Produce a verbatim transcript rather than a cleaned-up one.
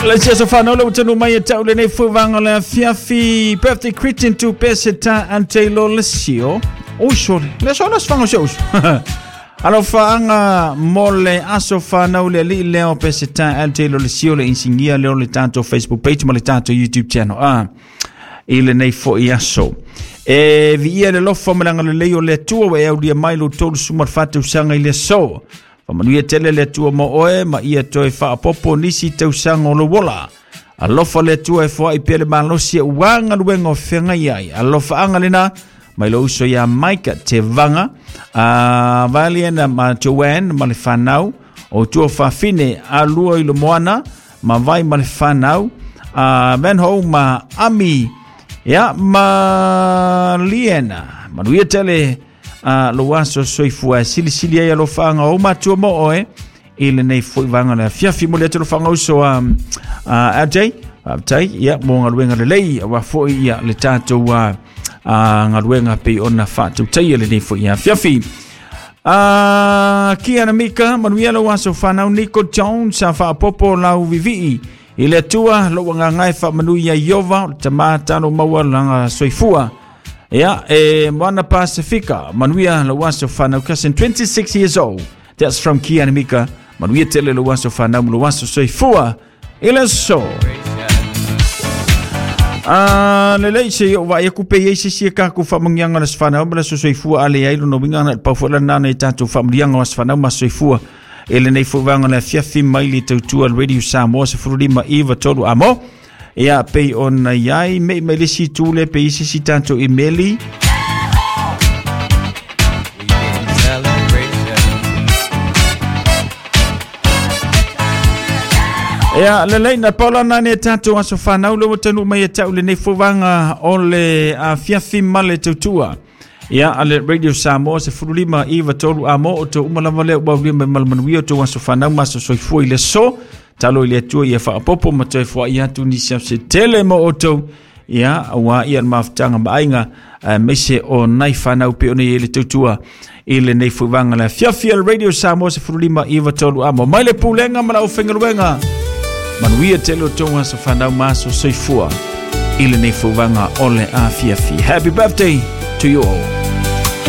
Le se aso whanau le utanu mai e tau lenei fuivanga le afiafi. Birthday greeting to Peseta Antelo Lesio. Oh, sorry. Le so las fanga se uso. Alofa mo le aso whanau le li leo Peseta Antelo Lesio le insingia leo le tato Facebook page ma le tato YouTube channel. Ah, i lenei foi aso. E via le lofa malanga le leo le tua e aulia mai lo tolu sumar fatu sanga i le so. Manuia tele le tua mo oe ma ia toe whaapopo nisi tausaga o le wola. Alofa le tua e foai pele malosi e uanga luenga o whenga iai. Alofa anga lena mai lo uso ia Maika te vanga. A valiena ma Joanne ma le whanau. O tua whawhine a lua i lo moana ma vai ma le whanau. A Van Ho ma Ami ia ma Liena. Manuia tele a lo aso soifua silisili ai alofaga o matua mo oe i lenei foi vaga le afiafi mo le atu alofaga uso a L J faafetai ia mo galuega lelei aua foi ia le tatou galuega pei ona faatautaia lenei foi afiafi. A Kiana Mika manuia lou aso fanau Nico Jones a faapopo lau vivii i le Atua lou agaga e faamanuia Iova o le tamā talo maua laga soifua. Yeah, eh, Moana Pasifika, Manuia Lawaso Fanau, cousin, twenty-six years old. That's from Kiana Mika. Manuia Tele Lawaso Fanau, Lawaso Soifua, Ilaso. Ah, lelei se o vai ku pe se se ka ku famangianga las fanau, mala soifua ale ai no winga na pa fo la na e tatou famangianga las fanau ma soifua. Ele nei fo vanga la fiafi mai le tautua Radio Samoa se furulima iva tolu amo. Ia pei ona iai me me le si tule pe isi si tanto imeli. Ia lelei na paula nane tato aso whanau le watanu mai e tau le nei fuvanga o le afiafi ma le tautua. Ia ale Radio Samoa se furulima iva tolu amo o tau umalava lea ua ulia mai malamanuia o tau aso whanau maso soifua i le so. Talo i le atua ia whaapopo ma toe fua ia atu nisi au se tele mo o tau. Ia, ua ia mafutanga maaiga meise o nai whanau pe ona i le tautua i le nei fuivanga le afiafi ale Radio Samoa se furulima iva tolu amo. Mai le pulenga ma lau whengaluenga. Manuia tele o tonga sa whanau maso soifua i le nei fuivanga o le afiafi. Happy birthday to you all.